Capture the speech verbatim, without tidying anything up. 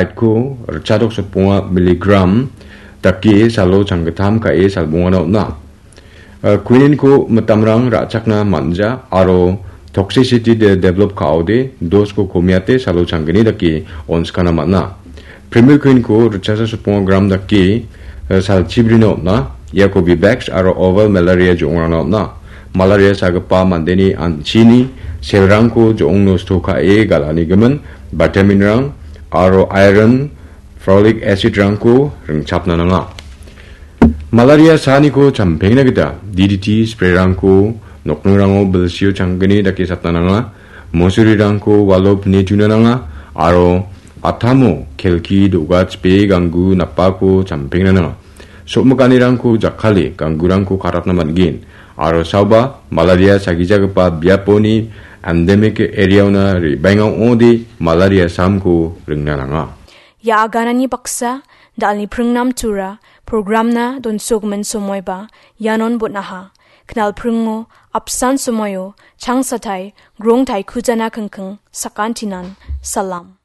Aitko ritchadok sotbonga miligram dake salo changgittam ka·e salbongana on·a. Eh, quinine-ko mitamrang ra·chakna man·ja aro toxicity de develop ka·ode dosko komiate salo changgni dake onskana man·a. Primuquine-ko ritchasa sotbonga gram dake, eh, salchibrina on·a. Iako Vivax aro oval malaria jo·ongrangna on·a. Malaria sagipa mandeni an·chini selrangko jo·ong nosto ka·e gal·anigimin vitamin-rang aro iron, folic acid-rangko ringchapna nanga. Malaria saaniko champengna gita D D T spray-rangko nokningrango bilsio changgni dake satna nanga. Musurirangko walo pine tuna nanga aro atamo kelki do·ga chipe ganggu napako champengna nanga. Som·kanirangko jakkale ganggurangko karatna man·gen aro saoba malaria sagijagipa biaponi endemic area-ona re·baenga ong·ode malaria saamko ringna nanga. Ia aganani baksa, da·alni pringnam tura, programna donsogimin somoiba, ianon bon·aha. Knalpringo, apsan somoio, changsatai, grongtai kujana kingking, sakantinan, salam.